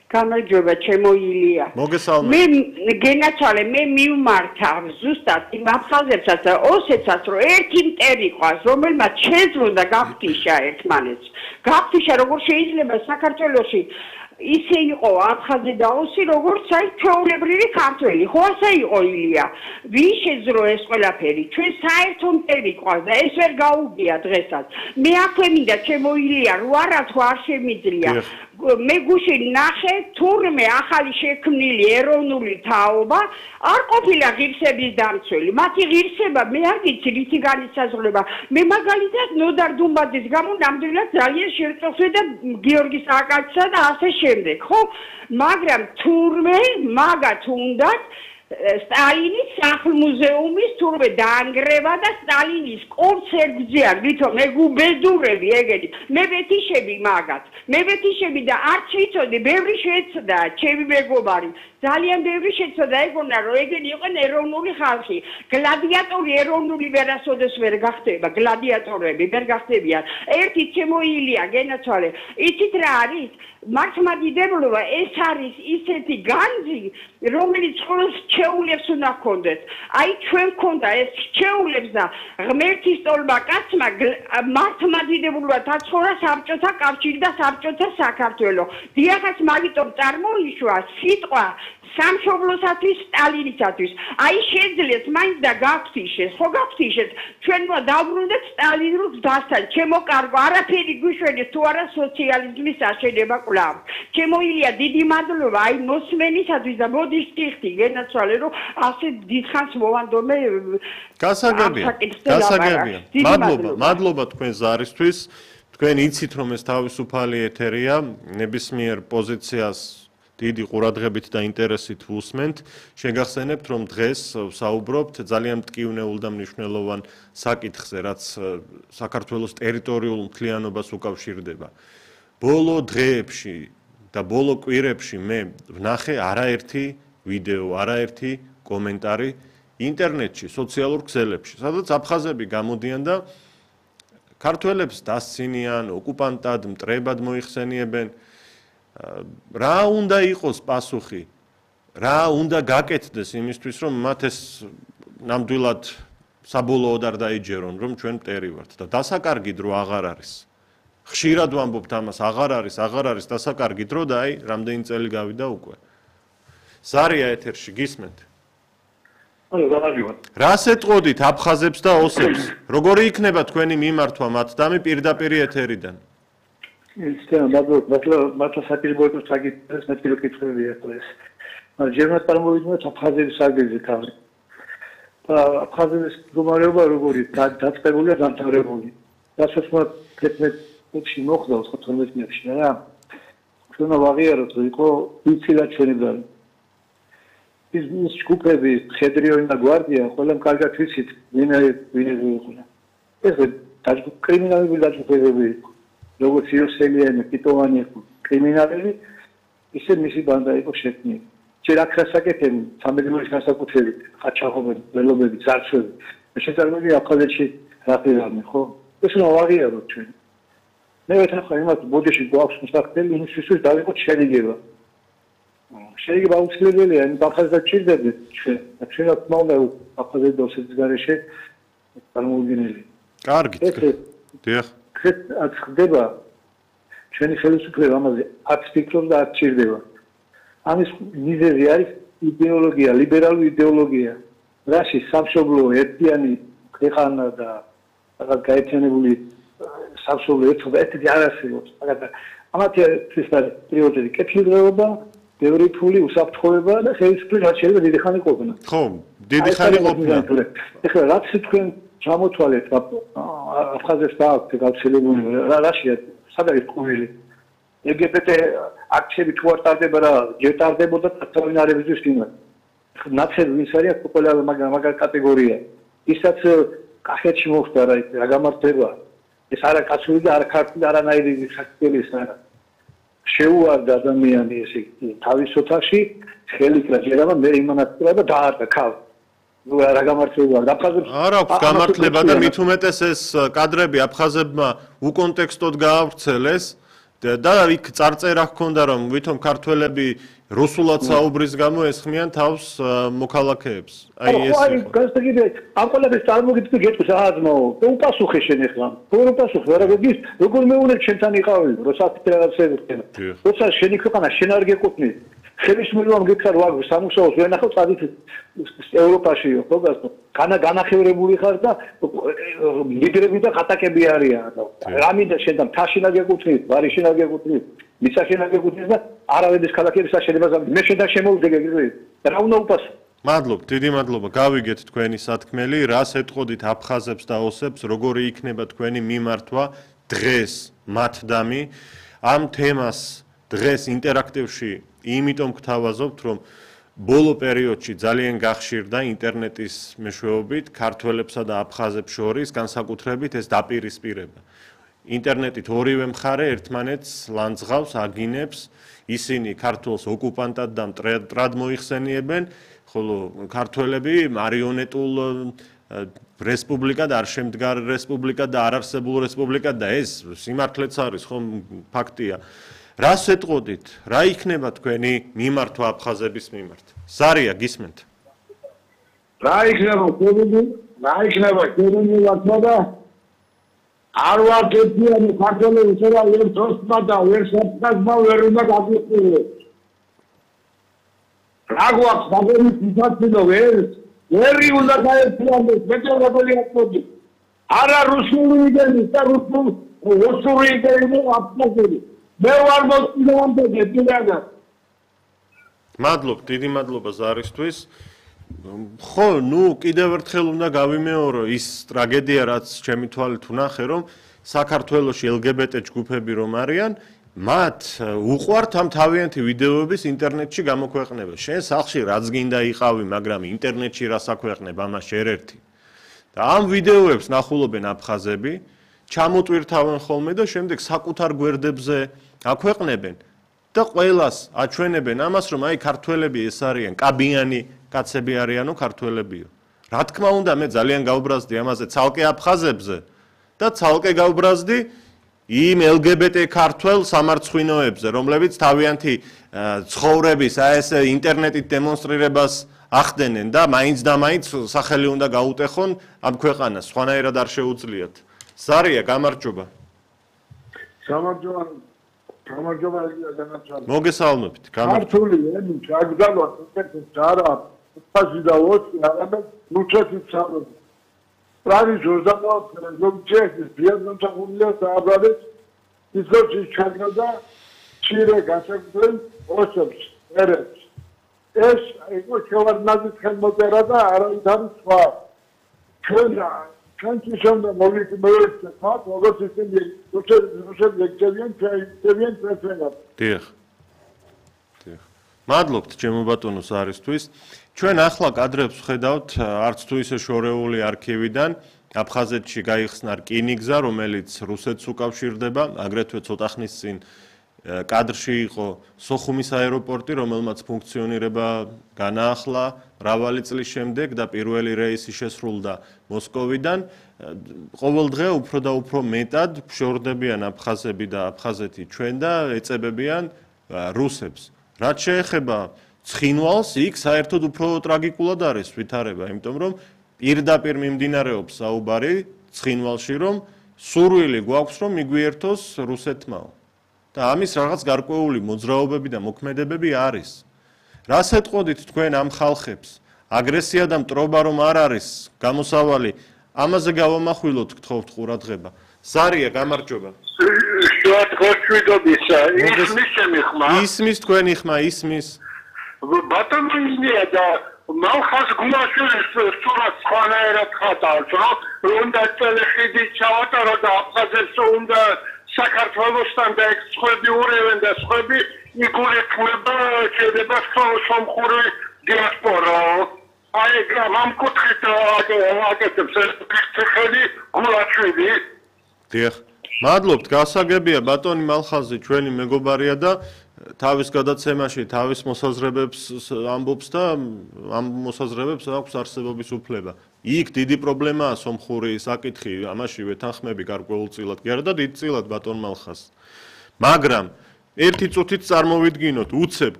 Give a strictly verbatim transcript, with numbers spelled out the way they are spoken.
გამარჯობა, ჩემო ილია. მოგესალმებით. მე გენაცვალე, მე მივმართა ზუსტად იმ აფხაზებსაც და ოსეთსაც, რომ ერთი მტერი ყავს, რომელმაც შეძლო და გაფთიშა ერთმანეთს. გაფთიშა, როგორ შეიძლება საქართველოში ისე იყო აფხაზი და ოსი, როგორც აი ჩვეულებრივი ქართველი. ხო ასე იყო ილია. ვინ შეძლო ეს ყველაფერი? ჩვენ საერთო მტერი ყავს და ეს ვერ გაუგია დღესაც. მე აქვე მინდა ჩემო ილია, რო არა თუ არ შემიძლია. მე გუშინ ნახე თურმე ახალი შექმნილი ეროვნული თაობა არ ყოფილა ღირსების დამცველი. მათი ღირსება მე არ ვიცი რითი განისაზღვრება. მე მაგალითად ნოდარ დუმბაძის გამო ნამდვილად ძალიან შევწოხე და გიორგი სააკაძისა და ასე შემდეგ, ხო? მაგრამ თურმე მაგათ უნდათ სტალინის სახლ-მუზეუმის თურმე დაანგრევა და სტალინის კონცერტზე არ ვითომ მე გუბედურები ეგეთი მე ვეთიშები მაგათ მე ვეთიშები და არც ვიცოდი ბევრი შეეცდა ჩემი მეგობარი ძალიან ბევრი შეეცდა ეგონა რომ ეგენი იყვნენ ეროვნული ხალხი გლადიატორი ეროვნული ვერასოდეს ვერ გახდება გლადიატორები ვერ გახდებიან ერთი ჩემო ილია გენაცვალე იცით რა არის მართლმადიდებლობა ეს არის ისეთი განძი რომელიც ყოველს ჩეულებს უნდა ჰქონდეს აი ჩვენ გქონდა ეს ჩეულებს და ღმერთის ტოლმა კაცმა მართლმადიდებლობა დაცხოვრა საბჭოთა კავშირი და საბჭოთა საქართველო დიახაც მაგიტომ წარმოიშვა სიტყვა სამშობლოსათვის სტალინისათვის აი შეძლეს მაინც და გაფთიშეს ხო გაფთიშეს ჩვენმა დავბრუნდეთ სტალინურ დასთან ჩემო კარგო არაფერი გვიშვენეს თუ არა სოციალიზმის აშენება კვლავ ჩემო ილია დიდი მადლობა აი მოსმენისათვის და მოდი შტიხტი გენაცვალე რომ ასე დიდხანს მოვანდომე გასაგებია გასაგებია მადლობა მადლობა თქვენ ზარისთვის თქვენ იცით რომ ეს თავისუფალი ეთერია ნებისმიერ პოზიციას დიდი ყურადღებით და ინტერესით ვუსმენთ. შეგახსენებთ, რომ დღეს საუბრობთ ძალიან მტკივნეულ და მნიშვნელოვან საკითხზე, რაც საქართველოს ტერიტორიულ მთლიანობას უკავშირდება. ბოლო დღეებში და ბოლო კვირებში მე ვნახე არაერთი ვიდეო, არაერთი კომენტარი ინტერნეტში, სოციალურ ქსელებში, სადაც აფხაზები გამოდიან და ქართველებს დასცინიან, ოკუპანტად, მტრებად მოიხსენიებენ. რა უნდა იყოს პასუხი? რა უნდა გაკეთდეს იმისთვის, რომ მათ ეს ნამდვილად საბოლოოდ არ დაიჯერონ, რომ ჩვენ მტერი ვართ და დასაკარგი დრო აღარ არის. ხშირად ვამბობთ ამას, აღარ არის, აღარ არის დასაკარგი დრო და აი, რამდენი წელი გავიდა უკვე. ზარია ეთერში, გისმენთ? ანუ გამარჯობა. რას ეტყოდით აფხაზებს და ოსებს? როგორი იქნება თქვენი მიმართვა მათ დამი პირდაპირ ეთერიდან? ისე მადლობა მართლა საპირისპირო საკითხებს მე თვითონ კითხებია ეს. მაგრამ ჯერმად წარმოვიდგინოთ აფხაზების საგეზი თავი. აფხაზების მდგომარეობა როგორი დაწყებულია დამთავრებული. რასაც მათ თერთმეტში მოხდა ოცდათორმეტ წლებში რა. ჩვენ ვაღიაროთ რომ იყო ვიცილად ჩვენი ბრძოლა. ის ის ჯგუფები ხედრიონი და გვარდია ყველამ კარგად ვიცით ვინ ვინ იყო. ეს კრიმინალები დაჯგუფებები იყო. როგორც იოსელიანი, პიტოვანი კრიმინალები, ისე მისი ბანდა იყო შექმნილი. ჯერ აქ რასაკეთებენ, სამედროის განსაკუთრებით, ყაჩაღობები, ველობები, ძარცვები. მე შეწარმოები აფხაზეთში რა პირამი, ხო? ეს უნდა ვაღიაროთ ჩვენ. მე ვეთანხმე იმას, ბოდიში გვაქვს მოსახდელი, იმისთვის დავიყოთ შერიგება. შერიგება აუცილებელია, იმ აფხაზეთს ჭირდება ჩვენ. ჩვენ თქმა უნდა აფხაზეთის და ოსეთის გარეშე წარმოვიდგინელი. კარგით. დიახ. რაც ხდება ჩვენი ხელისუფლება ამაზე არც ფიქრობს და არც ჭირდება. ამის მიზეზი არის იდეოლოგია, ლიბერალური იდეოლოგია. რაში სამშობლო ერთიანი ქვეყანა და რაღაც გაერთიანებული სამშობლო ერთობა ერთად არ არსებობს. მაგრამ ამათი ის არის პრიორიტეტი კეთილდღეობა, ბევრი ფული, უსაფრთხოება და ხელისუფლება რაც შეიძლება დიდი ხანი ყოფნა. ხო, დიდი ხანი ყოფნა. ეხლა რაც თქვენ ჩამოთვალეთ აფხაზებს დააქვთ გავრცელებული რაშია სადაც ყუილი ეგებეთე აქციები თუ არ ტარდება რა ჯერ ტარდებოდა თავინარებისთვის იმად ნაცები ვის არის აქ ყველა მაგარ კატეგორია ისაც კახეთში მოხდა რა რა გამართება ეს არა კაცური და არა ქართული არანაირი საქართველოს ეს არა შეუარდა ადამიანი ესე თავის ოთახში ხელით რა ჯერამა მე იმანაცრა და დაარდა ქალ რა გამართლება აფხაზებს არ აქვს გამართლება და მით უმეტეს ეს კადრები აფხაზებმა უკონტექსტოდ გაავრცელეს და იქ წარწერა ჰქონდა რომ ვითომ ქართველები რუსულად საუბრის გამო ესხმიან თავს მოქალაქეებს. აი ეს ხო, აი გასაგებია, ამ ყველაფერს წარმოგიდგე გეტყვის ააზმაო. უპასუხე შენ ახლა. როგორ უპასუხე, რა გიგის, როგორ მეუნეთ შენთან იყავი, როცა ფედერაცია ექნება. როცა შენი ქვეყანა შენ არ გეკუთვნი. ხელისმურვამ გიქხარ ვარ სამუშაოს ვერ ნახავ წადით ევროპაშიო, ხო გასწო. განა განახევრებული ხარ და ლიდერები და ხატაკები არიან. რამინდა შენთან თაშინა გეკუთვნი, ვარიშინა გეკუთვნი, მისაშინა გეკუთვნი და არავედის ქალაქების აღშენებას მე შენთან შემოვიდგე გიგზავნა. რა უნდა უპასუხო? მადლობ, დიდი მადლობა. გავიგეთ თქვენი სათქმელი, რას ეთყოდით აფხაზებს და ოსებს, როგორი იქნება თქვენი მიმართვა დღეს მათდამი ამ თემას დღეს ინტერაქტივში იმიტომ გთავაზობთ, რომ ბოლო პერიოდში ძალიან გახშირდა ინტერნეტის მეშვეობით ქართველებსა და აფხაზებს შორის განსაკუთრებით ეს დაპირისპირება. ინტერნეტით ორივე მხარე ერთმანეთს ლანძღავს, აგინებს, ისინი ქართულს ოკუპანტად და მტრად მოიხსენიებენ, ხოლო ქართველები მარიონეტულ რესპუბლიკად არ შემდგარ რესპუბლიკად და არარსებულ რესპუბლიკად და ეს სიმართლეც არის, ხო, ფაქტია. რას ეთყოდით? რა იქნება თქვენი მიმართვა აფხაზების მიმართ? ზარია, გისმენთ. რა იქნება ქურუმი? რა იქნება ქურუმი ვარცოდა? არ ვართ ერთიანი ქართველები, ცოტა ერთ ოსმა და ვერ საფხაზმა ვერ უნდა გაგიყვირო. რა გვაქვს საბერის ისაცინო ვერ? ვერი უნდა გაერთიანდეს, მეტევრებელი აკოდი. არა რუსული იდეის და რუსულ რუსული იდეის აფხაზები. მე ვარ მოსწინააღმდეგე პირადა. მადლობ, დიდი მადლობა ზარისთვის. ხო, ნუ კიდევ ერთხელ უნდა გავიმეორო ის ტრაგედია, რაც ჩემი თვალით ვნახე, რომ საქართველოში ელ გი ბი ტე ჯგუფები რომ არიან, მათ უყვართ ამ თავიანთი ვიდეოების ინტერნეტში გამოქვეყნება. შენ სახლში რაც გინდა იყავი, მაგრამ ინტერნეტში რას აქვეყნებ, ამას შენ ერთი. და ამ ვიდეოებს ნახულობენ აფხაზები, ჩამოტვირთავენ ხოლმე და შემდეგ საკუთარ გვერდებზე აქვეყნებენ და ყველას აჩვენებენ ამას, რომ აი ქართველები ეს არიან, კაბიანი კაცები არიანო ქართველებიო. რა თქმა უნდა, მე ძალიან გავბრაზდი ამაზე ცალკე აფხაზებზე და ცალკე გავბრაზდი იმ ელ გი ბი ტე ქართველ სამარცხვინოებზე, რომლებიც თავიანთი ცხოვრების აი ეს ინტერნეტით დემონსტრირებას ახდენენ და მაინც და მაინც სახელი უნდა გაუტეხონ ამ ქვეყანას, სხვანაირად არ შეუძლიათ. ზარია, გამარჯობა. გამარჯობა. გამარჯობა განაცხადი. მოგესალმებით. ქართული ენი ჩაგდალა თეთრ ჯარა ფაზი და ოცი არამედ რუსეთის სამოდი. პრავის ჟურნალისტი ზოგჯერ ბიაზონთაგულია სააბრალეთ ისოჩი ჩაგდა ჩირე გასაგზელ ოცებს ერებს. ეს იყო შევარდნაძის ხელმოწერა და არავითარი სხვა. ჩვენ Can't show them only to move the top or go to the Russian Syrian president. Dear. მადლობთ ჩემო ბატონო სარისთვის. ჩვენ ახლა კადრებს ვხედავთ არც თუ ისე შორეული არქივიდან აფხაზეთში გაიხსნა რკინიგზა, რომელიც რუსეთს უკავშირდება, აგრეთვე ცოტა ხნის წინ კადრში იყო სოხუმის აეროპორტი, რომელმაც ფუნქციონირება განაახლა მრავალი წლის შემდეგ და პირველი რეისი შესრულდა მოსკოვიდან. ყოველდღე უფრო და უფრო მეტად ფშორდებიან აფხაზები და აფხაზეთი ჩვენ და ეწებებიან რუსებს. რაც შეეხება ცხინვალს, იქ საერთოდ უფრო ტრაგიკულად არის ვითარება, იმიტომ რომ პირდაპირ მიმდინარეობს საუბარი ცხინვალში, რომ სურვილი გვაქვს, რომ მიგვიერთოს რუსეთმაო. და ამის რაღაც გარკვეული მოძრაობები და მოქმედებები არის. რას ეთყოდით თქვენ ამ ხალხებს? აგრესია და მტრობა რომ არ არის გამოსავალი, ამაზე გავამახვილოთ გთხოვთ ყურადღება. ზარია, გამარჯობა. ისმის ჩემი ხმა. ისმის თქვენი ხმა, ისმის. ბატონო ისმია და მალხას გულაშვილის სურათ სხვანაირად ხატავს, რომ უნდა წელეხიდი ჩავატარო და აფხაზებს უნდა საქართველოსთან და ეს სხვები ურევენ და სხვები იგულეთმება შეიძლება სომხური დიასპორა. აი ამ კუთხით აკეთებს ხელი გულაშვილი. დიახ. მადლობთ, გასაგებია ბატონი მალხაზი ჩვენი მეგობარია და თავის გადაცემაში თავის მოსაზრებებს ამბობს და ამ მოსაზრებებს აქვს არსებობის უფლება. იქ დიდი პრობლემაა სომხური საკითხი, ამაში ვეთანხმები გარკვეულწილად. კი არა და დიდწილად ბატონ მალხაზ. მაგრამ ერთი წუთით წარმოვიდგინოთ უცებ